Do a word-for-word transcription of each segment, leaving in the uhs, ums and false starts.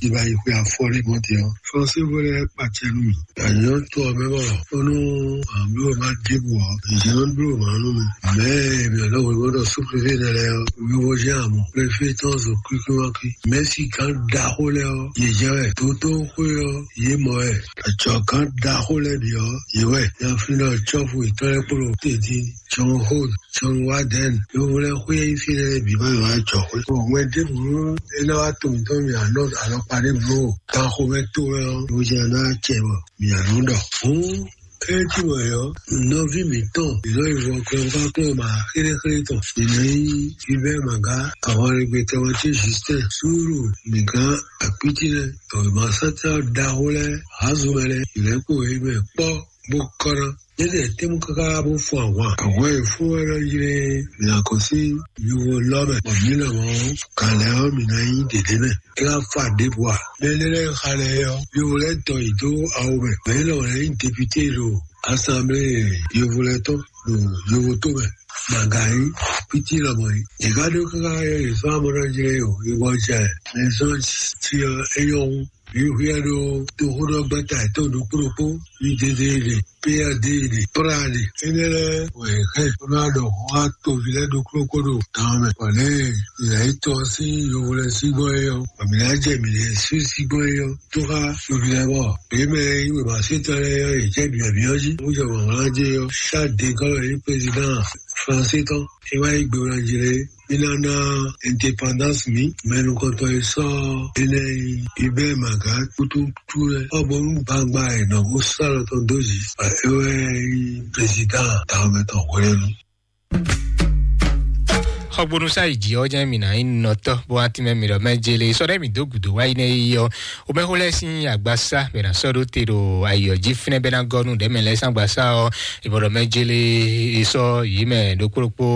Ìbá yí xwe afɔ ní mɔ tɛ ɔ. Fɔnsí wele kpàtẹ nù mí. Àyàn tó ɔ mɛ bɔ ó nú àbí ò má dìbò ɔ. Ìjẹ́ ló ń dúró màá nù mí. Mẹ́ mi ò lọ́wọ́ ìwé dọ̀ sún préfé nẹ lẹ ɔ. Wíwo jẹ́ àmọ́ préfé tán zò kíkí wá kí. Mẹ́sì kan da xó lẹ ɔ. Yè jẹ́ wẹ̀ tó tó xó ɔ. Yé mɔ wẹ̀. Àjọ kan da xó lẹ bì ɔ. Yé wẹ̀. Yà fi lọ tsɔ́fù ìtọ́lẹ́kpọ̀lọ́ tètè. John Holt, John Warden, yovó lɛ́ɛ xwé yí fí lɛ́ɛ bǐ má yi wá jɔ xwé. Mɛ ɖěbǔ é ná wá to mǐtɔn mì alɔkpa ɖěbǔ o. Ganxomɛ to wɛ ɔ́, yovójɛ ná cɛ bɔ mǐ nɔ ɖɔ. Fún é tí wɔ yɔ, nɔví mǐtɔn, mǐ nɔ yi vɔ kplɔ́ngbákplɔ́n ma xéléxélé tɔn. Mǐ nɔ yi Hubert Maga, ahwanlégbe tɛwɔn ce Justin, Súúrù, Mǐgán, Akpítínɛ, tɔ̀wémasátá ɖaxó lɛ́ɛ, Hazumɛ lɛ́ɛ, ìlɛ́kpó é mɛ kpɔ́ bó kɔ́ ná. Yédè tɛ́mú káká bó fún ahwan. Ahwan e fún wɛ nɔ ylé mǐ ná kɔn sín luvo lɔ mɛ, bɔ mǐ nɔ mɔ kalɛ ɔ́ mǐ ná nyí ɖěɖé mɛ. É wá fa ɖěbǔ ǎ. Mɛ énɛ́ lɛ́ɛ xa lɛ́ɛ ɔ́, luvo lɛ́ɛ tɔ yě dó awu mɛ. Mɛ élɔ́ lɛ́ɛ nyí député ɖo asanblée yovo lɛ́ɛ tɔn ɖo yovo tó mɛ. Màgǎyí pítí lɔmɔ yìí. Yě ká ɖó káká yɔ yě sɔ́ amɔ́ nɔ ylé o, yě gbɔ jɛ. Mɛ zɔ́n ti ɔ é nyɔ́ hú. Mǐ hwíɛ ɖó toxóɖɔgbɛ́ta yětɔn ɖokpó ɖokpó, UDDD, PRD, PRAD. Énɛ́ lɛ́ɛ wɛ è hɛn bó ná ɖɔ xó xá toví lɛ́ɛ ɖokpó ɖokpó ɖo gan ɔ́ mɛ. Bɔ lě e yě tɔ́ sín yovo lɛ́ɛ sí gbɔn é ɔ́, bɔ mǐ ná jɛ mǐ lɛ́ɛ sí sí gbɔn é ɔ́, tó xá toví lɛ́ɛ bɔ. Yě mɛ e yí wěma sɛ́tɔ́ lɛ́ɛ ɔ́, yě jɛ bǐɔ́bíɔ́ jí, bó jɛ wǎnwlán jí ɔ́, Charles de Gaulle e nyí président français tɔn, é wá yí gbe wá jí lé. Mí ná ná indépendance mǐ, mɛ nukɔntɔn e sɔ́ énɛ́ nyí Hubert Maga kútútú lɛ́ɛ. Ɔ́ bónú gbangba e nɔ bó sɔ́ alɔ tɔn dó jí, bɔ é wɛ nyí président tawun mɛ tɔn hwenu. Xɔgbónú sá yi jǐ ɔ́ jẹ́ mǐ ná nyí nɔtɔ́ bó wá tínmɛ mǐ ɖɔ mɛ jele sɔ́ ɖɛ́ mǐ dó gǔdo wá yi nɛ́ yi ɔ́. Omɛxó lɛ́ɛ sín agbasá bɛ ná sɔ́ ɖó te ɖo ayǐ ɔ́ jí fínɛ́ bɛ ná gɔ́ nú ɖɛ̌mɛ lɛ́ɛ sín agbasá ɔ́. È bɔ ɖɔ mɛ jele è sɔ́ yǐ mɛ ɖokpó ɖokpó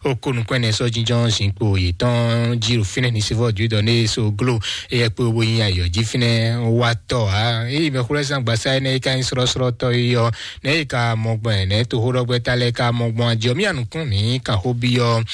ó kó nukún ɛnɛ sɔ́ jínjɔ́n zinkpo yětɔn jí ɖo fínɛ́ ní sivɔ jǔdɔ ní so gló. Éyɛ́ kpé bó nyí ayǐ ɔ́ jí fínɛ́ wá tɔ́ ǎ. Ényí mɛxó lɛ́ɛ sín agbasá énɛ́ é ka nyí srɔ́srɔ́tɔ́ é ɔ́, nɛ̌ è ka mɔ gbɔn ɛ nɛ̌ toxóɖɔgbɛ́ta lɛ́ɛ ka mɔ gbɔn ajɔ mí anukún mǐ kan xó byɔ́.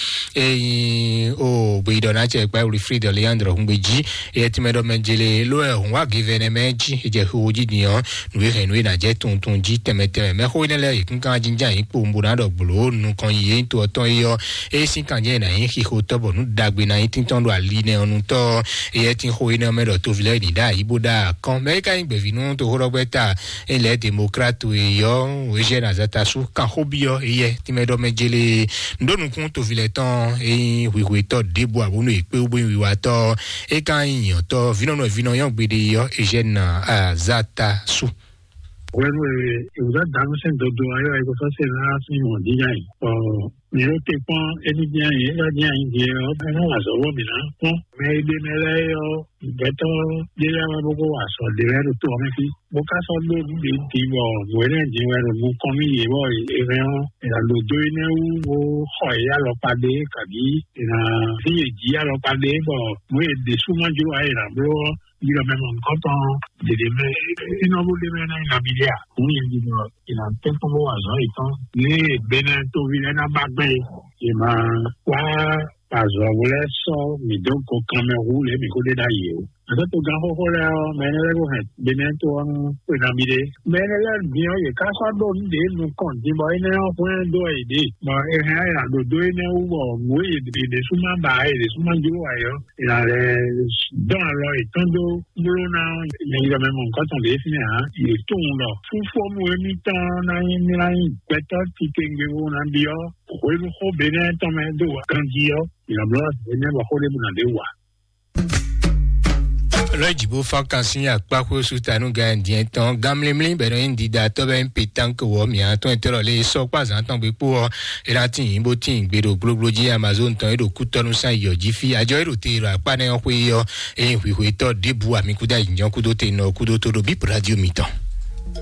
Ényí o gbeyíɖɔ ná cɛ kpa Wilfrid Leandro hungbe jí. Eyɛ tìmɛ ɖɔ mɛ jele ló ɛ hùn wá givɛnɛ mɛ jí. Ejɛ xixo jí din ɔ́, nǔ e hɛn nǔ e ná jɛ tuntun jí tɛmɛ tɛmɛ mɛ xó énɛ́ lɛ́ɛ yě kún kan jínján yě kpo bó ná ɖɔ gblo nukɔn yi yé tó ɔtɔn yi ɔ́. Eye sín kan jẹ́ ná nyí xixo tɔ́ bɔ nǔ ɖagbe ná nyí tíntɔ́n ɖo ali nɛ ɔ́ nu tɔ́. Eyɛ tín xó énɛ́ mɛ ɖɔ toví lɛ́ɛ ní ɖa yí bó ɖa kɔn mɛ é ka nyí gbɛ̀vínú toxóɖɔgbɛ́ta. Ényí lɛ̌ demokrat e yɔ Eugène Azatasu kan xó byɔ́ eyɛ tìmɛ ɖɔ mɛ jele. Ndo nukún tovilɛ tɔn eyin hwihwetɔ ɖěbǔ abónú èkpé wú bó yin wiwatɔ. É ka yin nyɔtɔ vínɔnú vínɔ yɔn gbede yɔ Eugène Azatasu. Wɛnu e ìwúzá dànù sɛn dodo ayɔ eko sɔsɛ na sin mɔ dídá yi. Ɔ mi o te kpɔn eni dín ayi ela dín ayi dín ɔ bɛ na wà zɔwɔ mi na kpɔn mɛ e ɖe mɛ lɛ yɔ gbɛtɔ ɖe lɛ wɛ bó kó wà sɔ ɖe lɛ ɖo to ɔmɛ fi. Bó ká sɔ́ ɖó nǔ ɖě din bɔ nǔ énɛ́ din wɛ ɖo nukɔn nú yě bɔ è hɛn ɔ́, è nǎ ɖo dó énɛ́ wú bó xɔ yě alɔkpa ɖé kabǐ è nǎ vín yě jí alɔkpa ɖé bɔ nǔ e ɖě sú ma jló ǎ è nǎ bló ɔ́, yi ɖɔ mɛ mɔ nukɔntɔn ɖěɖě mɛ fínɔ́ bó ɖé mɛ ná yi nabí ɖé ǎ. Nǔ yě ɖi bɔ è nǎ tɛ́nkpɔ́n bó wa azɔ̌ yětɔn. Ní Benɛ́ tóví lɛ́ɛ ná ba gbɛn é, è ma wá azɔ̌ bó lɛ́ sɔ́ mǐ dó go kanmɛ hú lě mǐ ko ɖe ɖ'ayǐ ó. Azɔ̌ togán xóxó lɛ́ɛ ɔ́, mɛ énɛ́ lɛ́ɛ ko hɛn Benɛ́ tó ɔ́ nú xwe nabí ɖé. Mɛ énɛ́ lɛ́ɛ bǐ ɔ́, yě ká sɔ́ ɖó nǔ ɖě nukɔn din bɔ énɛ́ ɔ́ hwlɛ́n dó wɛ yě ɖe. Bɔ è hɛn ɔ́, è nǎ ɖo dó énɛ́ wú bɔ nǔ e yě ɖésú má ba ǎ, yě ɖésú má jló ǎ é ɔ́, è nǎ lɛ́ dɔn alɔ yětɔn dó bló ná ɔ́, nyɛ yɔ mɛ mɔ nukɔn tɔn ɖě fínɛ́ ǎ. Yě tunwun ɖɔ fúfɔ́nú émítɔn ná nyí mlá nyí gbɛtɔ́ titewungbe bó ná byɔ́ hwenu xó Benɛ́ tɔn mɛ dó ganjí ɔ́, è nǎ bló ná Benɛ́ bɔ xó ɖěbǔ ná ɖě wa. Lɔ̌ jǐ bó fán kan sín akpáxwé sú ta nú Gayɛn tɔn. Gan mlímlí bɛ nɔ nyí ɖiɖa tɔ́ bɛ nyí pétanque wɔ mǐa tɔn e tɔ́ lɔ lé sɔ́ kpá zǎn tɔn gbe kpó ɔ́, é ná tín yǐ bó tín gbe ɖo gblogblo jí Amazon tɔn e ɖo kútɔ́nú sán yɔ jí fí. Ajɔ e ɖo te ɖo akpá nɛ́ ɔ́ xwé ɔ́, é nyí hwǐhwetɔ́ ɖěbǔ amikúdá yǐnyɔ́ kúdó te nɔ kúdó tó ɖo bíp radio mitɔn.